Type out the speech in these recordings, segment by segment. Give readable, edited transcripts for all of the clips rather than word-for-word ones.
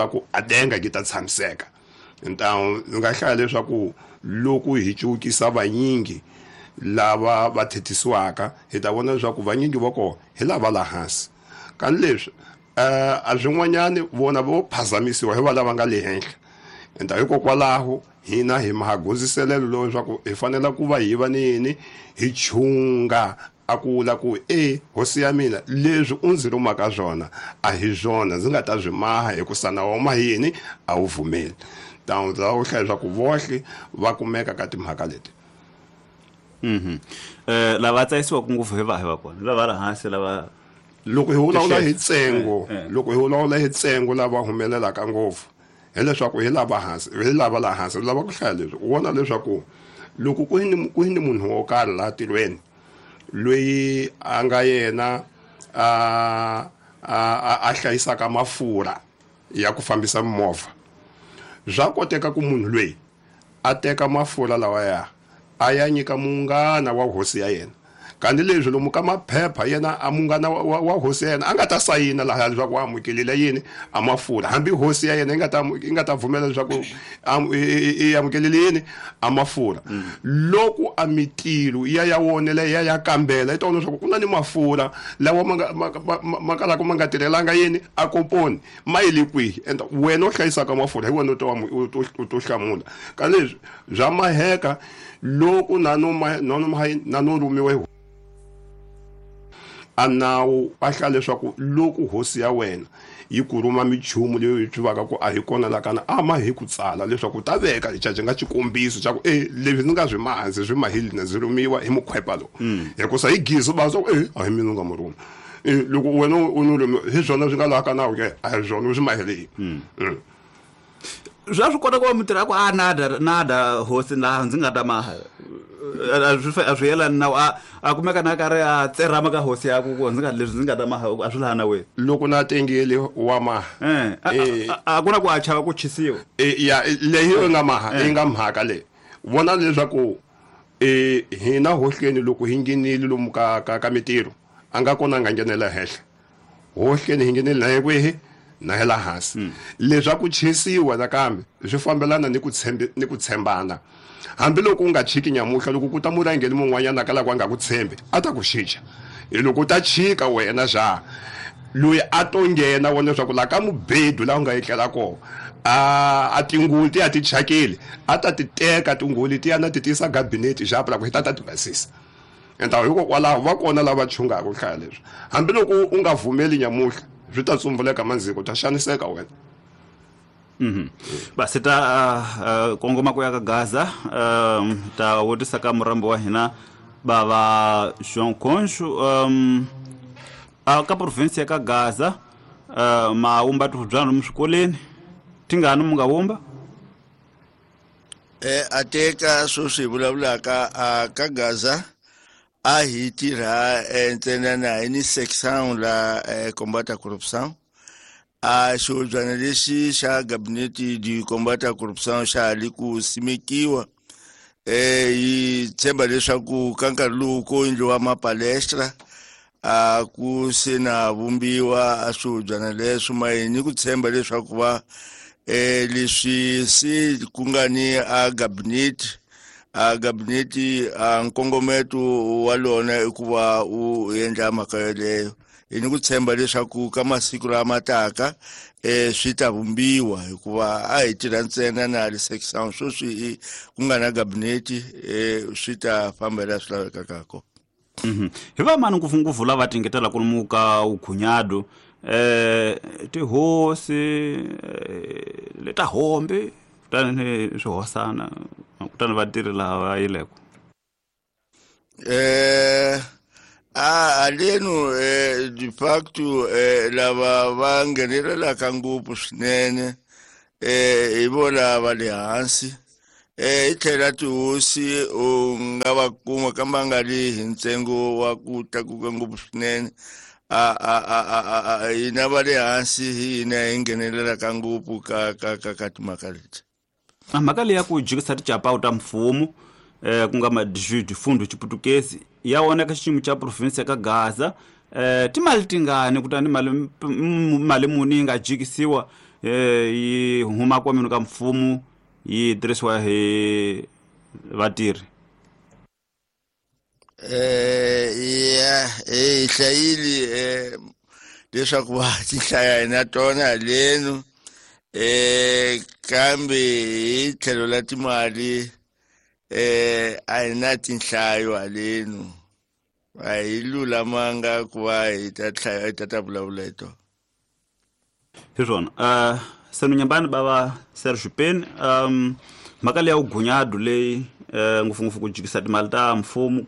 Ku a denga yi ta tshamiseka. Ntawu ndzi nga hlaya leswaku loko hi cukisa vanyingi lava va thethisiwaka, hi ta vona leswaku vanyingi va kona hi lava la hansi. Kani leswi a swin'wanyani vona vo phazamisiwa hi va lava nga le henhla. Enta hikokwalaho hina hi magondziselelo lowu leswaku hi fanele ku va hi va ni yini, hi chunga a ku vula ku e hosi ya mina, leswi u ndzi rhumaka swona a hi swona ndzi nga ta swi maha, hikusa nawu wa mahini a wu pfumeli. Tawuti lava ku hlaya leswaku vohle va kumeka ka timhaka leti. Lava tsayisiwaka ngopfu hi vahi va kona, lava la hansi lava loko hi vulavula hi ntsengo, loko hi vulavula hi ntsengo lava humelelaka ngopfu hileswaku hi lava hansi, hi lava la hansi. Lava ku hlaya leswi, u vona leswaku loko ku ni munhu wo karhi laha tilweni loyi a nga yena a hlayisaka mafurha ya ku fambisa mimovha, swa koteka ku munhu loyi a teka mafurha lawa ya a ya nyika munghana wa hosi ya yena. Kanti leswi lomu ka maphepha yena a munghana wa hosi ya yena a nga ta sayina laha leswaku wa amukelile yini a mafurha, hambi hosi ya yena yi nga ta pfumela leswaku i amukelile yini a mafurha. Loko a mitilo ya ya wonela ya ya kambela, yi ta vona leswaku ku na ni mafurha lawa ma kalaka ma nga tirhelanga yini a komponi, ma yile kwihi. And wena u hlayisaka mafurha hi wena u to hlamula. Ka leswi bya maheka loko na no ma, na no ma, na no rhumiwa hi a nawu a hlaya leswaku loko hosi ya wena yi ku rhuma minchumu leyi yi tivaka ku a hi kona la kana, a ma hi ku tsala leswaku ta veka xicaci nga xikombiso xa ku e leswi ndzi nga swi maha ndzi swi mahile na ndzi rhumiwa hi mukhwepa lowu. Hikusa hi gizi va swa ku e a hi mina u nga mu rhuma. Loko wena u ni rhumiwa hi swona swi nga laha ka nawu ke, a hi swona u swi mahile. Swa swi kota ku va mutirhi a ku a nada nada hosi laha ndzi nga ta maha. A swi yelani nawu, a kumeka na karhi a tserhama ka hosi ya ku ku ndzi nga leswi ndzi nga ta maha a swi laha nawini. Loko na tengile wa maha. A ku na ku a chava ku chisiwa. Ya, leyi yi nga maha, yi nga mhaka leyi. Vona leswaku hina hohleni loko hi nghenile lomu ka mitirho, a nga kona a nga nghenela henhla. Hohleni hi nghenile na hi kwihi? Na hi la hansi. Leswaku chisiwa nakambe swi fambelana ni ku tshembi, ni ku tshembana. Hambi loko u nga chiki nyamuhla, loko ku ta murhangeri mun'wanyana ka lava nga ku tshembi, a ta ku xicha. Hi loko u ta chika wena xa loyi a to nghena vona leswaku la ka mubedu laha u nga etlela kona, a tinguli ti ya ti chakile, a ta ti teka tinguli ti ya na ti tisa gabinete xa pula ku hi ta ta ti basisa. Enta hikokwalaho va kona lava chungaka ku hlaya leswi. Hambi loko u nga vumeli nyamuhla, swi ta tsumbuleka mandziko, u ta xaniseka wena. Basi ta kongoma ku ya ka Gaza, ta vutisa ka murambi wa hina bava João Concho, ka province ya ka Gaza, ma wumba tihubyana lomu swikolweni, tingani mu nga wumba? A teka sweswi hi vulavulaka a ka Gaza, a hi tirha ntsena na hi ni section la combat à corruption. A xihobyana lexi xa gabinete du combat à corruption xa ha li ku simekiwa. Hi tshemba leswaku ka nkarhi lowu ko endliwa mapalestra, a ku se na vumbiwa a swihobyana leswo, ma hi ni ku tshemba leswaku va leswi se ku nga ni a gabinete, a gabinete a nkongometo wa lona i ku va u endla mhaka yeleyo. Hi ni ku tshemba leswaku ka masiku lama taka swi ta vumbiwa, hikuva a hi tirha ntsena na le section sweswi ku nga na gabinete, swi ta famba laha swi lavekaka kona. Hi va mani ngopfungopfu lava tingetelaka lomu ka vukhunyado, tihosi, leta hombe, kutani ni swihosana, kutani vatirhi lava va yileko. A haleno, de facto, lava va nghenelelaka ngopfu swinene, hi vona va le hansi. Hi tlhela tihosi u nga va kuma kambe a nga ri hi ntsengo wa ku tlakuka ngopfu swinene. Hina va le hansi hi hina hi nghenelelaka ngopfu ka timhaka leti. A mhaka leyi ya ku jikisa ticapawu ta mfumo, ku nga ma-desvio fundo xiputukezi, ya wona ka xiyimo xa province ya ka Gaza, timali tingani kutani mali muni yi nga jikisiwa? Yi huma kwameni ka mfumo yi tirhisiwa hi vatirhi. Ya, hi hlayile leswaku va ti hlaya na tona halenu, kambe hi tlhelo la timali a hi na tinhlayo halenu, a hi lulamanga ku va hi ta hlaya, hi ta ta vulavula hi tona. Hi swona. Senunyambani bava Serge Pen, mhaka leyi ya vugunyadu leyi, ngopfungopfu ku jikisa timali ta mfumo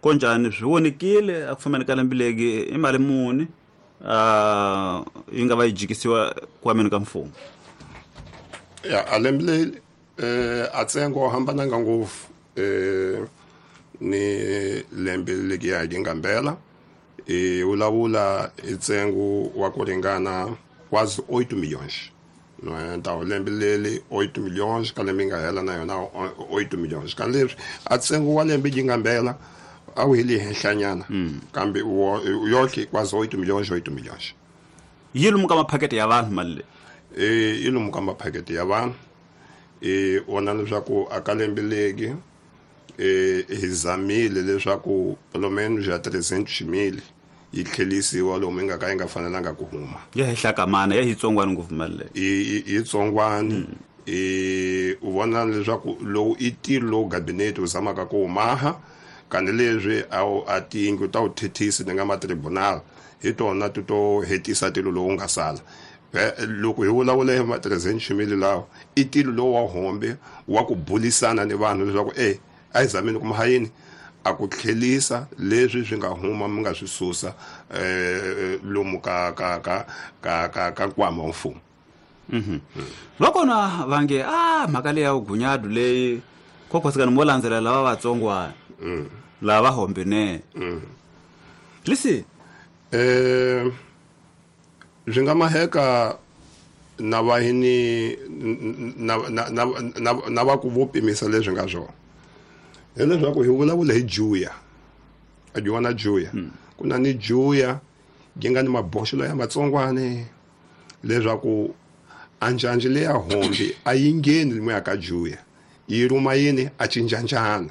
konjhani swi vonekile a ku fambeni ka lembe legi i mali muni yi nga va yi jikisiwa kwameni ka mfumo? Ya, a lembe leri a ntsengo wu hambananga ngopfu ni lembe legi ya yi nga mbela. Vulavula hi ntsengo wa ku ringana quase 8 milhões. Não é? Então, lembe leri 8 milhões, ka lembe yi nga hela na yona 8 milhões. Ka leswi a ntsengo wa lembe yi nga mbela a wu hi le henhlanyana, kambe yohle quase 8 milhões, 8 milhões. Yi lomu ka maphaketi ya vanhu mali leyi? Yi lomu ka maphaketi ya vanhu. Vona leswaku a ka lembe legi hi zamile leswaku pelo menos ya 300 mil yi tlhelisiwa lomu yi nga ka yi nga fanelanga ku huma. Ya henhla ka mana, ya yitsongwani ngopfu mali leyi. Yitsongwani. U vona leswaku lowu i ntirho lowu gabinete wu zamaka ku wu maha, kani leswi a wu a tiyindlu ta wu thethisi ni nga matribunal hi tona ti to hetisa tilo lowu nga sala. Loko hi vulavula hi ma 300 mil lawa, i tilo lowu wa hombe wa ku bulisana ni vanhu leswaku a hi zameni ku mahayini a ku tlhelisa leswi swi nga huma mi nga swi susa lomu ka ka ka ka ka ka nkwama wa mfumo. Va kona va nge a mhaka leyi ya vugunyadu leyi khokhosikani mo landzelela lava vatsongwana lava hombene. Lisi swi nga maheka na vahini na na na na na va ku vo pimisa leswi nga swona. Hileswaku hi vulavula hi juya, a juwa na juya. Ku na ni juya yi nga ni maboxelo ya matsongwane leswaku a njhanjhi leya hombi a yi ngheni lumuya ka juya, yi rhuma yini a cincanjana,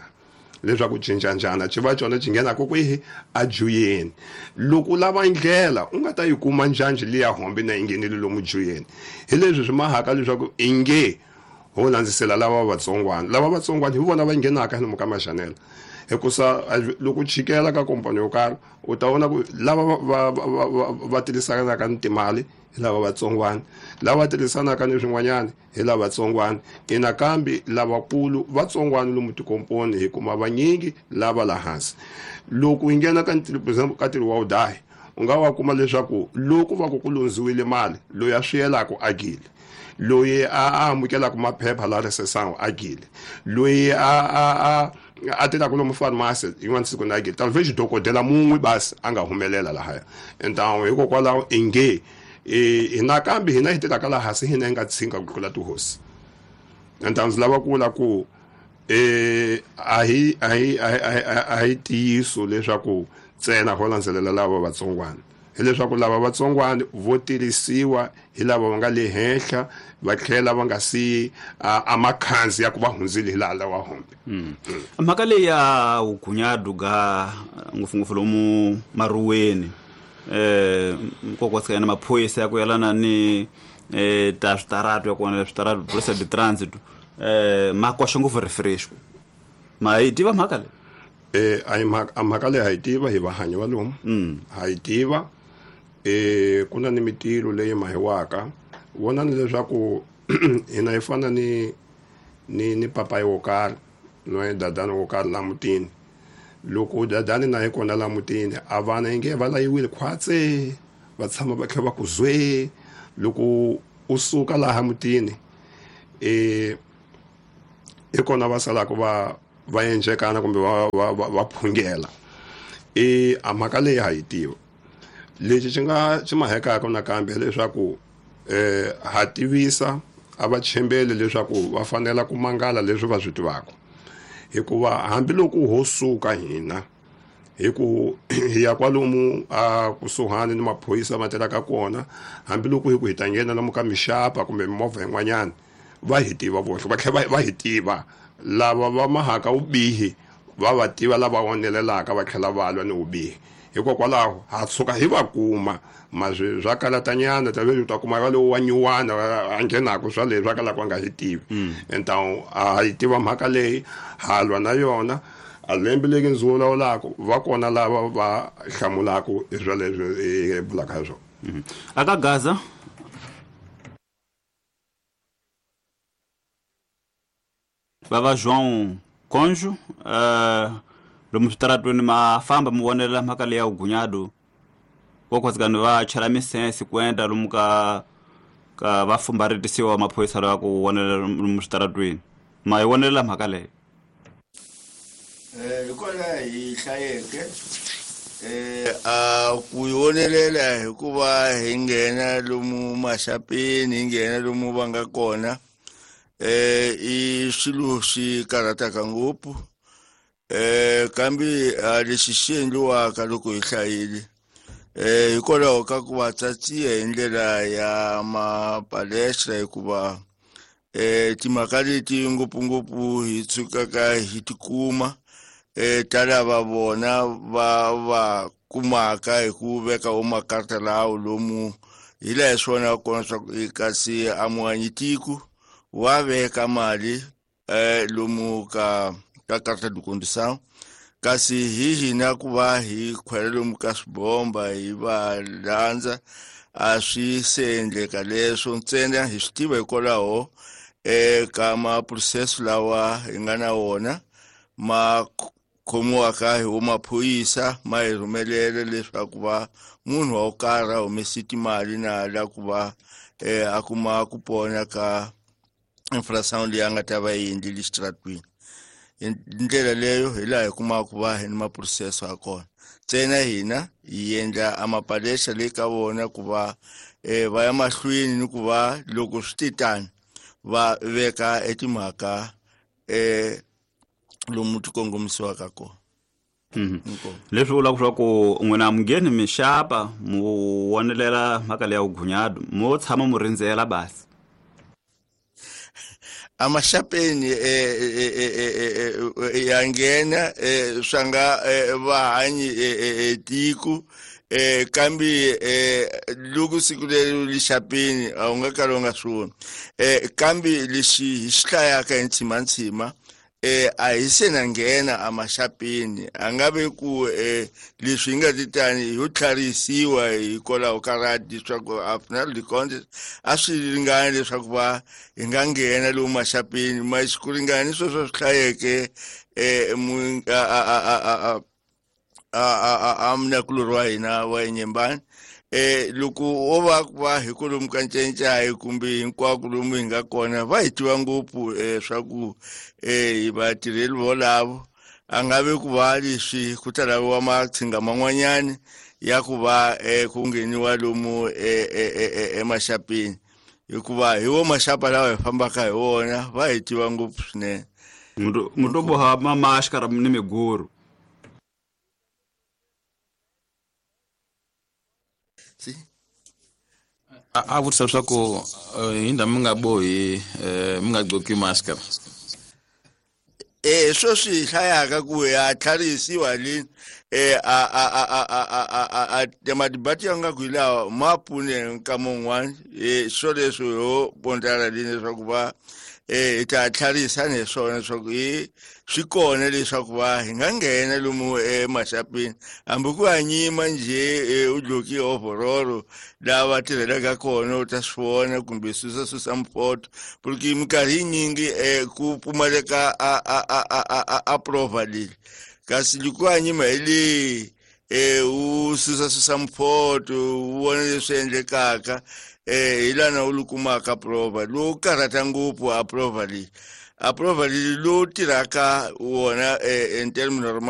leswaku cincanjana xi va xona xi nghenaka kwihi a juyeni. Loko u lava ndlela u nga ta yi kuma njhanjhi liya hombi na yi nghenile lomu juyeni. Hi leswi swi mahaka leswaku i nge ho landzisela lava vatsongwana, lava vatsongwana hi vona va nghenaka lomu ka maxanela, hikusa loko u chikela ka kompani yo karhi u ta vona ku lava va tirhisanaka ni timali hi lava vatsongwana, lava tirhisanaka ni swin'wanyana hi lava vatsongwana. Nakambe lavakulu vatsongwana lomu tikomponi hi kuma vanyingi lava la hansi. Loko hi nghena ka for example ka ntirho wa vudahi, u nga wa kuma leswaku loko va ku ku lundziwile mali, loyi a swi yelaka a gile, loyi a amukelaka maphepha la risesangu a gile, loyi a a tirhaka lomu pharmacy yin'wana siku na gile, talvez dokodela mun'we basi a nga humelela lahaya. Então hikokwalaho i nge nakambe hina hi tirhaka laha hansi hina hi nga tshinga ku tlula tihosi. Então ndzi lava ku vula ku a hi a hi a hi ntiyiso leswaku ntsena ho landzelela lava vatsongwana, hileswaku lava vatsongwana vo tirhisiwa hi lava va nga le henhla va tlhela va nga siyi a makhanzi ya ku va hundzile hi laha lawa hombe. Mhaka leyi ya vugunyadu ga ngopfungopfu lomu maruweni, nkoka na maphorisa ya ku yelana ni ta switaratu ya kona switaratu polisa de transit, ma koxa ngopfu refresco. Ma yi tiva mhaka leyi? A hi mhaka, a mhaka leyi ha yi tiva hi vahanyi va lomu. Ha yi tiva. Ku na ni mitilo leyi mahiwaka. Vonani leswaku hina hi fana ni ni ni papayi wo karhi no dadani wo karhi la mutini. Loko dadani na hi kona la mutini, a vana inge va layiwile khwatse, va tshama va kha va ku zwe. Loko u suka laha mutini, hi kona va salaka va endlekana kumbe va phungela. A mhaka leyi ha yi tiva. Lexi xi nga xi mahekaka nakambe hileswaku ha tivisa a va tshembeli leswaku va fanela ku mangala leswi va swi tivaka, hikuva hambiloko ho suka hina Hi ku hi ya kwalomu a kusuhani ni maphorisa ma tirhaka kona, hambiloko hi ku hi ta nghena lomu ka mixapa kumbe mimovha yin'wanyana, va hi tiva vohle, va tlhela va hi tiva lava va mahaka vubihi, va va tiva lava onelelaka va tlhela va lwa ni vubihi. Hikokwalaho ha tshuka hi va kuma, maswi swa kalatanyana ta u ta kuma va lowu wa nyuwana a nghenaka swa leswi a kalaka a nga hi tivi. Entawu a hi tiva mhaka leyi, ha lwa na yona. A lembe leri ndzi vulavulaka va kona lava va hlamulaka hi swa leswi hi vulaka hi swona. Aka Gaza bava João Conjo, lomu switaratweni ma famba mi vonelela mhaka leyi ya vugunyado, kokhotsikani va chela misense ku endla lomu ka ka va fumbaretisiwa maphorisa lawa ku vonelela lomu switaratweni, ma yi vonelela mhaka leyi? Hi kona hi hlayeke a ku yi vonelela hikuva hi nghena lomu maxapeni, hi nghena lomu va nga kona, i swilo swi karhataka ngopfu. Kambe lexi xi endliwaka loko hi hlayile, hikwalaho ka ku va tsatsiya hi ndlela ya mapalestra, hikuva timhaka leti ngopfungopfu hi tshukaka hi tikuma ta lava vona va va kumaka hi ku veka wo makarta lawo lomu hi laha hi swi vonaka kona swa ku kasi a muhanyi tiko wa veka mali lomu ka ka karta de condução, kasi hi hina ku va hi khwela lomu ka swibomba hi va landza a swi se endleka leswo ntsena. Hi swi tiva hikwalaho ka ma-processo lawa hi nga na wona ma khomiwaka hi wo maphorisa, ma hi rhumelela leswaku va munhu wa ku karhi a humesi timali na la ku va a kuma ku pona ka infrasound leyi a nga ta va yi endlile xitaratwini. Hi ndlela leyo hi laha hi kumaka ku va hi ni ma-processo ya kona. Ntsena hina hi endla a mapalesa le ka vona ku va va ya mahlweni ni ku va loko swi te tani va veka etimhaka lomu ti kongomisiwaka kona. Leswi vulaka swa ku n'wina mi ngheni mixapa mu vonelela mhaka leya vugunyado, mo tshama mu rindzela basi? Amaxapeni ya nghena swa nga vahanyi tiko, kambe loko siku leri lixapeni a wu nga kali u nga swi voni, kambe lexi hi xi hlayaka hi ntshimantshima a hi se na nghena amaxapeni, a nga ve ku leswi hi nga ti tani ho tlharisiwa hikwalaho ka radi leswaku a final de compte a swi ringani leswaku va hi nga nghena lomu maxapeni, ma ku ringana ni sweswo swi hlayeke a munakulori wa hina wa Enyembani. Loko wo va ku va hi kwalomu ka Ncencai kumbe hinkwako lomu hi nga kona va hi tiva ngopfu swa ku hi vatirheli volavo, a nga ve ku va leswi ku ta laviwa matshinga man'wanyani ya ku va ku ngheniwa lomu emaxapeni, hikuva hi wo maxapa lawa hi fambaka hi wona va hi tiva ngopfu swinene. Muto boha mamaxikara ni miguru. A vutisa leswaku hi ndhawu mi nga bohi mi nga gqoki maskara. Sweswi hi hlayaka ku ya tlharisiwa le a a madibati ya nga ku hi lawa ma pfune nkama wun'wani, swo leswi ho pondlana lini leswaku va hi ta tlharisa ni hi swona leswaku hi swi kona leswaku va hi nga nghena lomu emaxapeni hambi ku ya nyima njhe u dloki overall laha va tirhelaka kona u ta swi vona kumbe susa susa mpoto, porque minkarhi yinyingi ku pfumaleka a prova leyi, kasi loko ya nyima hi leyi u susa susa mpoto u vona leswi endlekaka, hi lana u li kumaka prova lowu karhata ngopfu a prova leyi, a prova leyi lowu tirhaka wona in term normal.